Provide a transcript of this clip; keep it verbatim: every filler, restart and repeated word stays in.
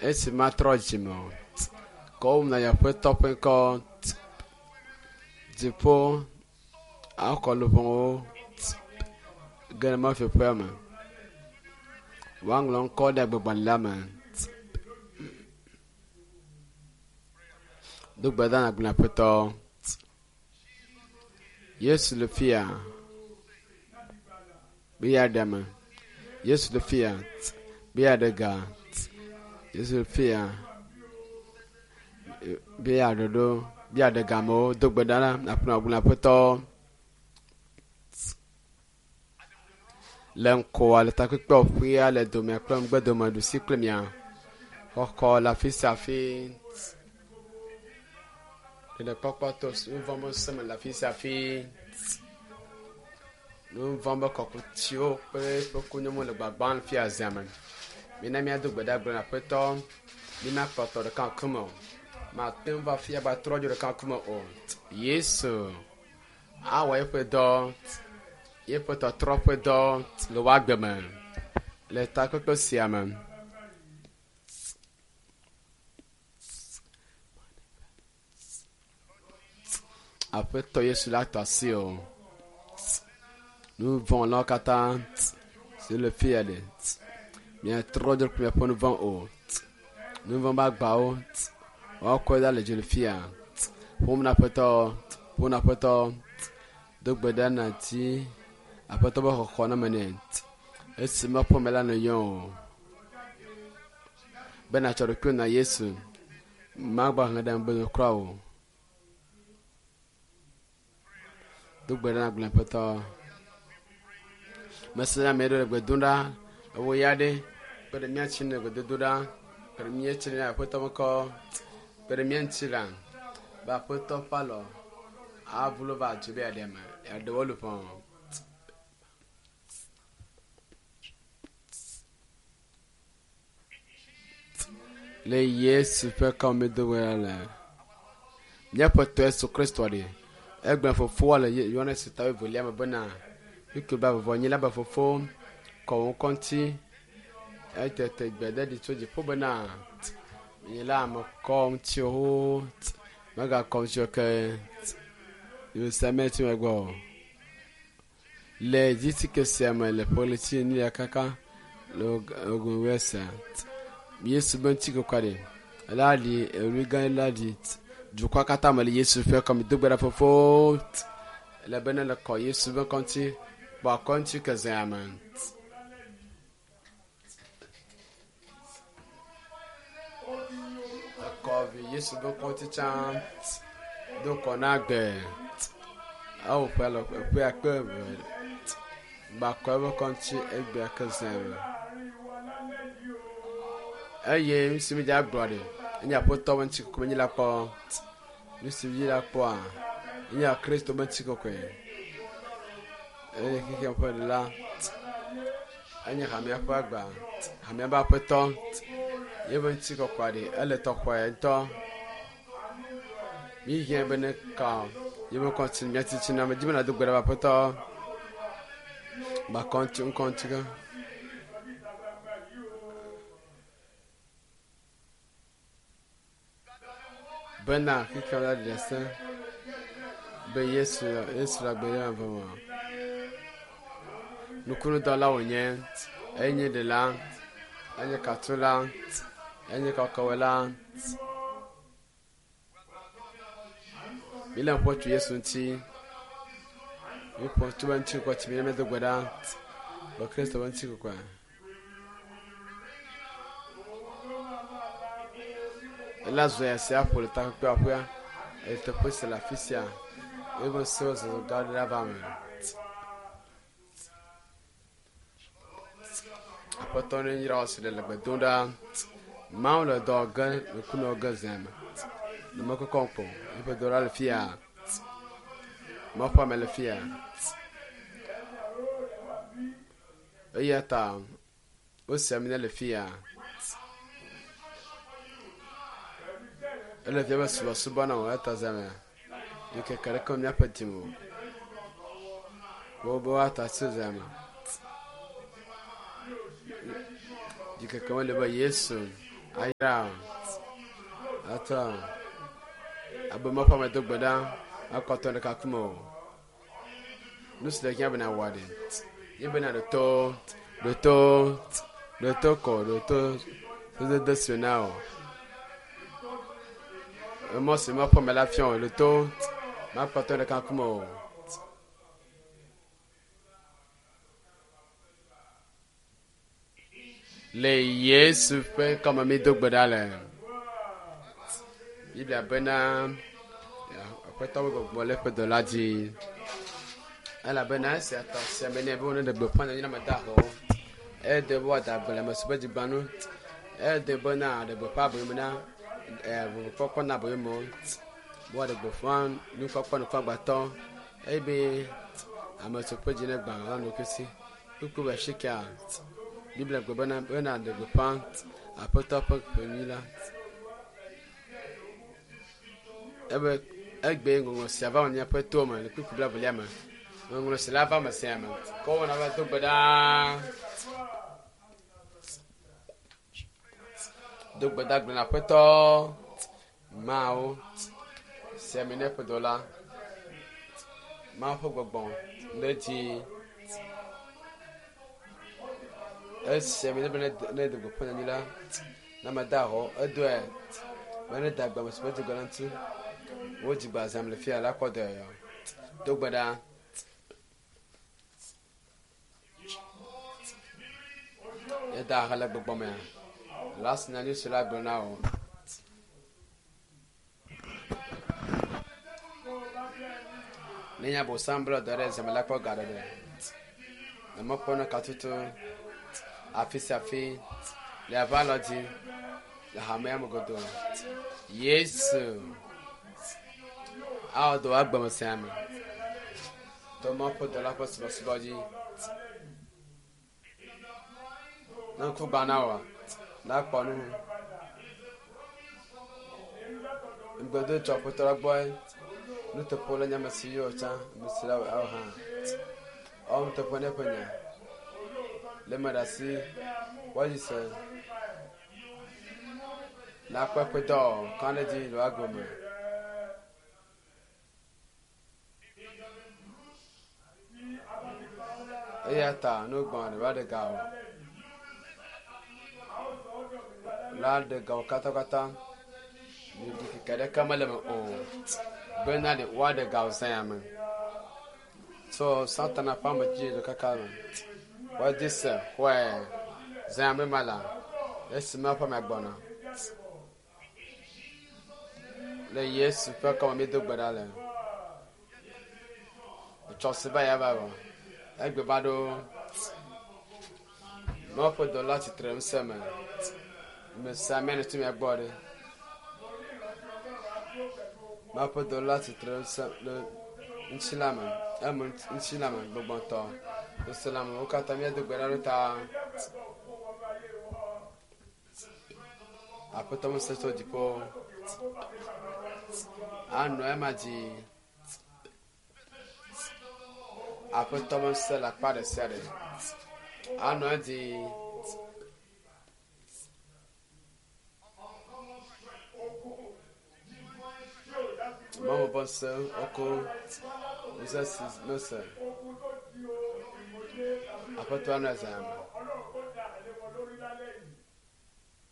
Esi matrɔ dzime o. Kɔwom na Aƒetɔ ƒe ŋkɔ. Dziƒo akɔ luʋɔwo ge ɖe mɔfiƒea me. Woaŋlɔ ŋkɔ ɖe agbegbalẽ la me. Do gbe ɖa nàgblɔ Aƒetɔ. Yesu le fia. Be yeaɖe ame. Yesu le fia. Be yeaɖe ga. Yesu le fia. Be yeaɖe ɖo. Be yeaɖe ga amewo. Do gbe ɖa na nàgblɔ Aƒetɔ. Le ŋkɔa le takpekpeƒea le domea kple ŋgbedome ɖusi kple mia. Xɔxɔ le afi sia afi. Ɖeɖekpɔkpɔ to nu vɔ̃ be ŋusẽ me le afi sia afi. Nu vɔ̃ be kɔkutsiwo kple eƒe kunyɔŋwo le gbagbam le fia zia me. Mina míado gbe ɖa gblɔ na Aƒetɔ. Mina kpɔtɔ ɖeka ŋkume o. Mate ŋu va fia ba trɔ dzo ɖeka ŋkume o. Yesu awɔ eƒe dɔ, yeƒe tɔtrɔ ƒe dɔ le wò agbe me le takpekpe sia me. Aƒetɔ Yesu la tɔ asi o. Nu vɔ̃ katã si le fia ɖe. Miatrɔ dzo kple miaƒe nu vɔ̃ o. Nu vɔ̃ be agbawo woakɔe ɖa le dzo le fia. Ƒom na Aƒetɔ, ƒom na Aƒetɔ. Do gbe ɖa nàdi Aƒetɔ be xɔxɔ na me nɛ. Esi meƒe me la nèyɔ o. Be nàtsɔ ɖokuiwò na Yesu. Magba he ɖe megbe kura o. Do gbe ɖa nàgblɔ Aƒetɔ. Mese ame aɖewo le gbe dom ɖa. Ewo ya ɖe kpe ɖe mía ŋuti le gbedodo ɖa. Kpe ɖe mía ŋuti le Aƒetɔ ƒe ŋkɔ. Kpe ɖe mía ŋuti la be Aƒetɔ ƒe alɔ aʋu va dzo be yeaɖe ame yeaɖe wo luʋɔ. Le Yesu ƒe kɔme do gbe ɖa le. Míaƒe Tɔ Yesu Kristo ɖe. Egblɔ fofoa le Yohanes ta wuievelia me bena ŋutsu be vɔvɔ nyi la be fofo kɔ wò ŋkɔ ŋuti. Etete gbe ɖe ɖi tso dziƒo bena nye la ame kɔ ŋutiwo megakɔ ŋutiwo ke Yerusalem tsi megbɔ o. Le dzitike sia me le ƒe ɣleti enelia kaka le ogun sia. Yesu be ŋutikɔkɔe ɖe la ɖi ewui gã la ɖi dukɔa katã me le Yesu ƒe kɔme do gbe ɖa fofo le be ne le kɔ Yesu be ŋkɔ ŋuti kpɔ akɔ ŋuti ke zea me. Ekɔ vi Yesu be ŋkɔ ŋuti tsã do kɔ na gbe. Ewo ƒe le ƒe akpe eve gbakɔ eƒe ŋkɔ ŋuti egbea ke zea me. Eye nu si mi dza gblɔ ɖe enye Aƒetɔ be ŋutikɔkɔe menye la kpɔ. Nu si mi la kpɔa enye Kristo be ŋutikɔkɔe. Eye xexea ƒe ɖela enye hamea ƒe agba, hamea ƒe aƒetɔ. Yeƒe ŋutikɔkɔe ɖe ele tɔxɔe ŋutɔ. Mi hiã be ne ka yeƒe ŋkɔ ŋuti mía titina me dzi be nàdo gbe ɖa be Aƒetɔ gbakɔ ŋuti ŋkɔ ŋuti ke. Bena xexea la ɖe se be Yesu Yesu le agbe ɖe eve me. Nukunudɔla wònye, enye ɖela, enye katula, enye kɔkɔwɔla. Míle ƒo tso Yesu ŋuti. Míƒo tso be ŋutikɔkɔe tsi mi ne míado gbe ɖa be Kristo be ŋutikɔkɔe. Ela zɔ ya sia ƒo le takpekpeaƒea le teƒe sia le afi sia. Eƒe ŋusẽ zɔzɔ gã aɖe ava eme. Aƒetɔ ne yra wò si le gbe dom ɖa. Mawu le dɔ ge nukunɔ ge zea me. Numekɔkɔ ŋkpɔ. Eƒe dɔ la le fia. Mawu ƒe ame le fia. Eya ta wosi ami ne le fia. Ele fia be subɔsubɔ na wò eya ta zea me. Ŋkeke ɖeke míaƒe dime o. Wobe woatɔ asi zea me. Ɖikeke mele be Yesu Ayra atɔ abe mɔƒe ame do gbe ɖa akɔtɔ ɖeka kume o. Nu si le hiã bena wɔ ɖe ye bena ɖe to ɖe to ɖe to kɔ ɖe to sodede si na o. Emɔ si mɔƒe me la fiɔ ɖe to makpɔtɔ ɖeka kume o. Le Yesu ƒe ŋkɔme mi do gbe ɖa le. Biblia bena Aƒetɔ ƒe gbɔgbɔ le eƒe dɔla dzi. Elabena esia tɔ sia me nɛ be wone ɖe gbeƒã nyanyui na ame dahewo. Ede be woada gbe le ame si ƒe dzigbanu. Ede bena ɖe gbeƒã aboyome na vovokpɔkpɔ na aboyomewo. Be woaɖe gbeƒã nukpɔkpɔ nukpɔgbatɔ eye be ame si ƒe dzi ne gbã la ɖokui si. Kpukpu be shika Biblia gblɔ bena bena ɖe gbeƒã Aƒetɔ ƒe ƒe nyui la. Ebe egbe ŋɔŋlɔ sia va miaƒe to me le kpukpu blaevelia me. Ŋɔŋlɔ sia la va me sia me. Kɔ wɔna va do gbe ɖa. Do gbe ɖa gblɔ na Aƒetɔ Mawu sia mi ne ƒe dɔla. Mawu ƒe gbɔgbɔ le dzi. Esia mi ne be ne do gbeƒã nyanyui la na ame dahewo edoe be ne da gbe ame si ƒe dzigbe la ŋuti. Wo dzigbe zam le fia la kɔ dɔe. Do gbe ɖa. Eda he le gbɔgbɔ mea. La si nyanyui si la gblɔ na wo. Ne nya bosam bla dɔ ɖe zame la kpɔ ga ɖe. Ne mekpɔ ne katutu afi sia afi le ava lɔ dzi le hamea me godoo. Yesu awɔ dɔ agbeme sia me. To Mawu ƒe dɔla ƒe subɔsubɔ dzi. Ne ŋku gbã na wòa, la kpɔ nu. Ŋugbedo tso Aƒetɔ la gbɔe. Nuteƒe le nye ame si yɔ tsã, ame si la awɔ hã. Ewɔ nuteƒe ne eƒe nya. Le eme ɖe asi, woadzi se. La kpɔ eƒe dɔ kã ɖe dzi le woagbe me. Eya ta nu gbɔ̃ ɖe va ɖe ga o. La ɖe ga wo katãkatã. Ɖikeke ɖeke mele me o. Bena ɖe woaɖe ga wo zã ya me. So Satana ƒe ame dzi le kaka me. Woadi se xɔe zã ya me ma la. Esi me ƒe ame gbɔna. Le Yesu ƒe kɔme mi do gbe ɖa le. Etsɔ si va ya va vɔ. Egbe va ɖo. Mawu ƒe dɔla tsitre ŋusẽ me. Me sia ame ne tso mia gbɔ ɖe. Mawu ƒe dɔla tsitre ŋusẽ le ŋutilã me. Eme ŋutilã me gbɔgbɔtɔ. Ŋutilã me wo katã míado gbe ɖa ɖo ta. Aƒetɔ ŋusẽ tso dziƒo. Anɔ ema dzi. Aƒetɔ ŋusẽ le akpa ɖe sia ɖe. Anɔ edzi. Mawu ƒe ŋusẽ woko ŋusẽ si mese. Aƒetɔ anɔ ezã me.